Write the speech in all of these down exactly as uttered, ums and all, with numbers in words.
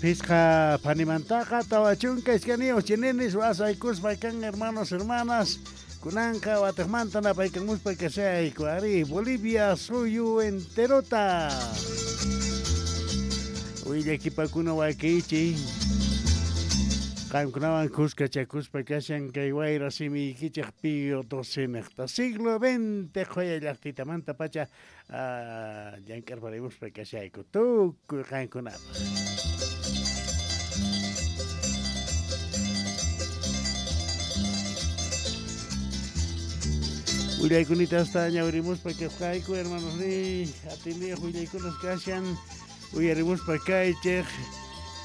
Phisqa phanimantaqa tawa chunka iskayniyuq chininis wasaykuspa kan hermanos hermanas kunanqa wataqmanta napaykamuspa kashayku ari Bolivia suyu enterota willakipakuna wakichi qamkunawan kuskachakuspa kashan kay wayra simiykichik Pío doce siglo veinte qhoya llaqtitamanta pacha llank'arparimuspa kashayku tukuy qankunapaq. Willaykunita hasta ñawrimuspa kasqayku hermanos ni atiniyuq willaykunas kashan uyarimuspa kaychik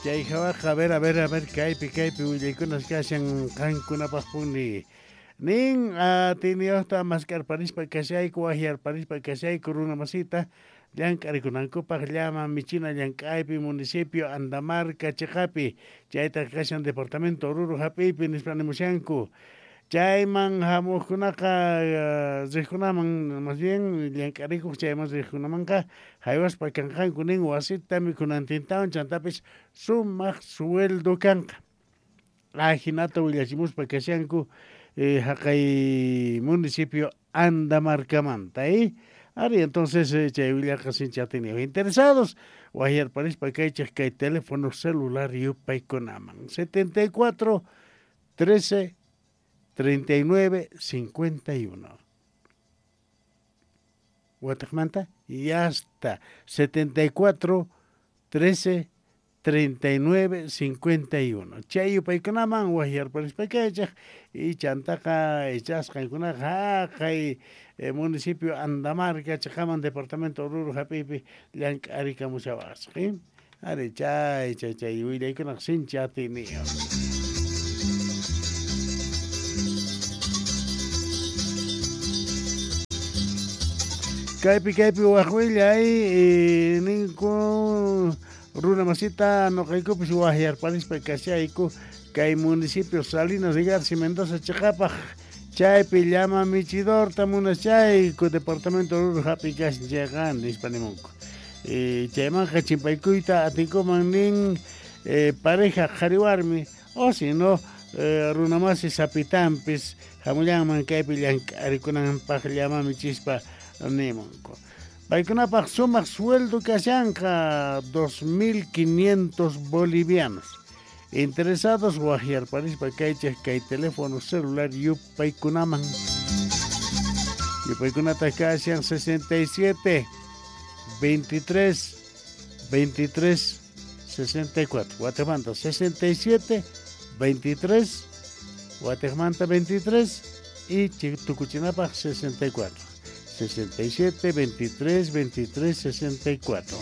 chay hawaqa a ver a ver a ver kaypi kaypi willaykunas kashan qankunapaqpuni nin atiniyuqta mask'arparispa kashayku waqyarparispa kashayku runa masita llank'arikunankupaq llama michina llank'aypi municipio Andamarca chiqapi chaytaq kashan departamento Oruro hap'iypi nispa nimushanku chayman hamuqkunaqa riqkunaman más bien llank'arikuq chayman riqkunamanqa haywaspa kanqanku nin wasita mikhunantintawan chantapis sumaq sueldo kanqa ajinata willachimuspa kashanku eh, haqay municipio Andamarcamanta eh? Ari entonces eh, chay willaqa sinchi atiniyuq interesados waqyarparispa kaychik kay teléfono celular yupaykunaman setenta y cuatro trece treinta y nueve cincuenta y uno. Wataqmanta y hasta setenta y cuatro trece treinta y nueve cincuenta y uno. Chay yupaykunaman waqyarparispa kaychik y chantaqa ichasqankunaqa haqay eh, municipio Andamarca chiqaman departamento Oruro hap'iypi llank'arikamushawasaq eh? Ari chay chay chay willaykunaq sinchi atiniyuq. Kaypi kaypi waq willay eh, ninku runa masita nuqaykupis waqyarparispa kashayku kay municipio Salinas de Garci Mendoza chiqapaq chaypi llama michidorta munachayku departamento Oruro hap'i kashan chayqa nispa nimunku eh, chaymanqa chimpaykuyta atinkuman nin eh, pareja qhari warmi o si no eh, runa masi sapitanpis hamullanman kaypi llank'arikunanpaq llama michispa nimunku. Paykunapaq sumaq sueldo kashanqa dos mil quinientos bolivianos. Interesados waqyarparispa kaychik kay teléfono celular yupaykunaman. Yupaykunata kashan sesenta y siete veintitrés veintitrés sesenta y cuatro. Guatemala sesenta y siete veintitrés Guatemala veintitrés y Tucuchinapaq sesenta y cuatro. sesenta y siete, veintitrés, veintitrés, sesenta y cuatro.